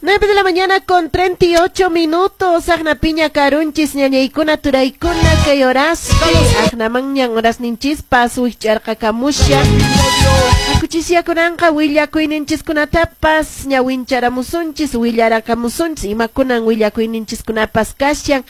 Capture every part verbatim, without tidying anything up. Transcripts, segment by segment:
Nueve de la mañana con treinta y ocho minutos. Agna piña karunchis ñañaykuna turaykuna kay horaspi. Agna mañan horasninchispas wich'arqakamusha. Akuchisyakunanqa willakuyninchiskunatapas ñawincharamusunchis, willarakamusunchis imakunan willakuyninchiskunapas kashan.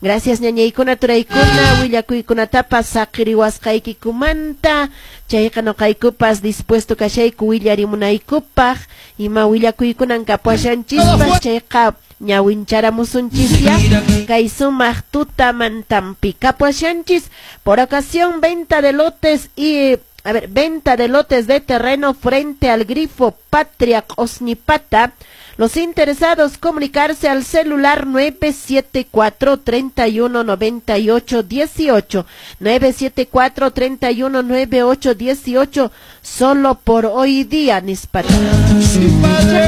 Gracias ñañaykuna turaykuna willakuykunatapas saqiriwasqaykikumanta. Chayqa noqaykupas dispuesto kashayku willarimunaykupaq ima willakuykunan kapuashanchispas chayqa ñawincharamusunchisya kay sumaq tutamantampi kapuashanchis por ocasión venta de lotes y a ver, venta de lotes de terreno frente al grifo Patria Q'osñipata. Los interesados comunicarse al celular nueve siete cuatro, treinta y uno, noventa y ocho, dieciocho, nueve siete cuatro, treinta y uno, nueve ocho, dieciocho, solo por hoy día, nispata.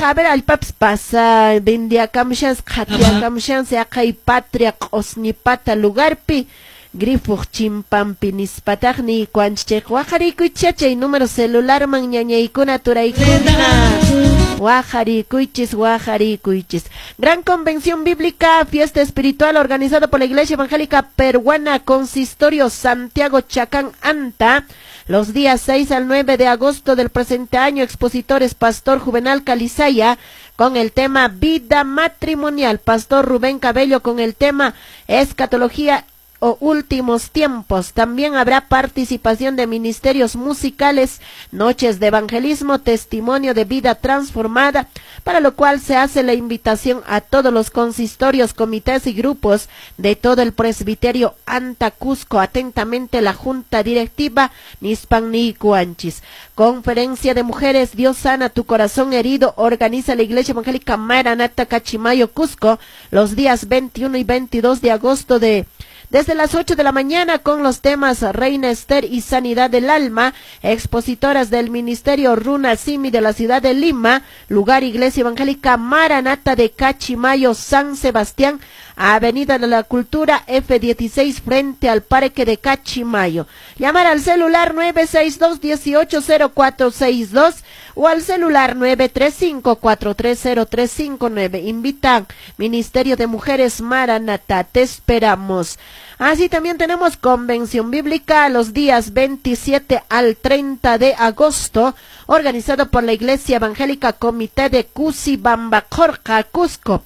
A ver, al paps pasa, vendiakamshans, qatiakamshans, aqay Patria Q'osñipata lugarpi, grifo chimpampi nispataqni kuanchik waqarikuycha chay número celular man ñañaykuna turaykuna. Guajaricuychis, guajaricuychis. Gran Convención Bíblica, fiesta espiritual organizada por la Iglesia Evangélica Peruana, Consistorio Santiago Chacán Anta, los días seis al nueve de agosto del presente año. Expositores Pastor Juvenal Calizaya con el tema Vida Matrimonial, Pastor Rubén Cabello con el tema Escatología o Últimos Tiempos. También habrá participación de ministerios musicales, noches de evangelismo, testimonio de vida transformada, para lo cual se hace la invitación a todos los consistorios, comités y grupos de todo el presbiterio Anta Cusco. Atentamente la Junta Directiva Nispan Nikuanchis. Conferencia de Mujeres, Dios sana tu corazón herido, organiza la Iglesia Evangélica Maranata Cachimayo Cusco, los días veintiuno y veintidós de agosto de desde las ocho de la mañana con los temas Reina Esther y Sanidad del Alma, expositoras del Ministerio Runa Simi de la ciudad de Lima, lugar Iglesia Evangélica Maranata de Cachimayo, San Sebastián, Avenida de la Cultura F dieciséis, frente al Parque de Cachimayo. Llamar al celular nueve seis dos, dieciocho cero cuatro seis dos o al celular nueve tres cinco, cuatro tres cero, tres cinco nueve. Invitan Ministerio de Mujeres Maranata. Te esperamos. Así también tenemos Convención Bíblica los días veintisiete al treinta de agosto, organizado por la Iglesia Evangélica Comité de Cusibamba, Jorca, Cusco.